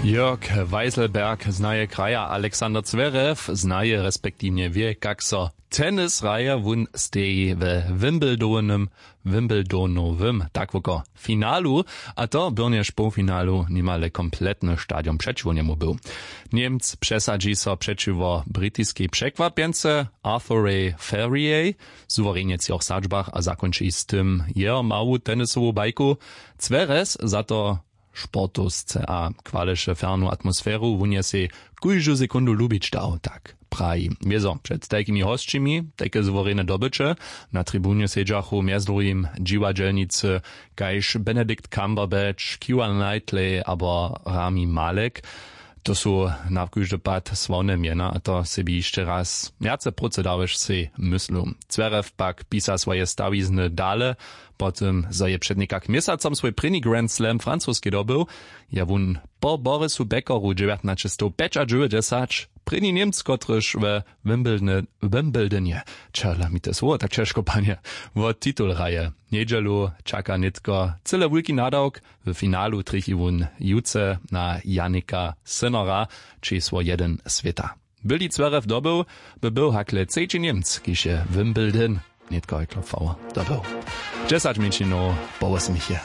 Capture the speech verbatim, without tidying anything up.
Jörg Weiselberg znaje kraja, alexander zverew znaje respektiwnje wě, kak so tennis hraje. Wón steji we wimbledonem wimbledonowym, tak woko, finalu, a to byrnjež połfinalu nimale kompletny stadion přećiwo njemu był. Němc přesadźi so přećiwo britiskej překwapjence, arthurej ferriej, suwerenje w třoch sadźbach a zakónči z tym jeho mału tennisowu bajku. Zverew za to sportowsce a chwaleše fernu atmosferu, wón je sej kóždu sekundu lubić dał, tak praji. Wězo před tajkimi hosćimi tajke suwerene dobyće. Na tribunje sedźachu mjez druhim dźiwadźelnicy kaž benedikt cumberbatch, keira knightley abo rami malek. To su na kóždy pad sławne mjena a to sebi hišće raz wjace prócy dałež sej myslu. Zverew pak pisa swoje stawizny dale. Po tym zo je před někak měsacom swój prěni grand slam francoskej dobył, je wón po borisu beckeru dźewjatnaćestowpjećadźewjećdźesać prěni němc kotryž we wimbledonje, čahla mi te słowo tak ćežko panje, wo titul hraje. Njedźelu čaka nětko cyle wulki nadawk. W finalu trjechi wón jutře na janika sinnera, česło jedyn swěta. Byli zverew dobył, by był hakle třeći němc kiž je wimbledon nětko heklo fauer dobył. Dźesać mjeńšinow po wosmich je.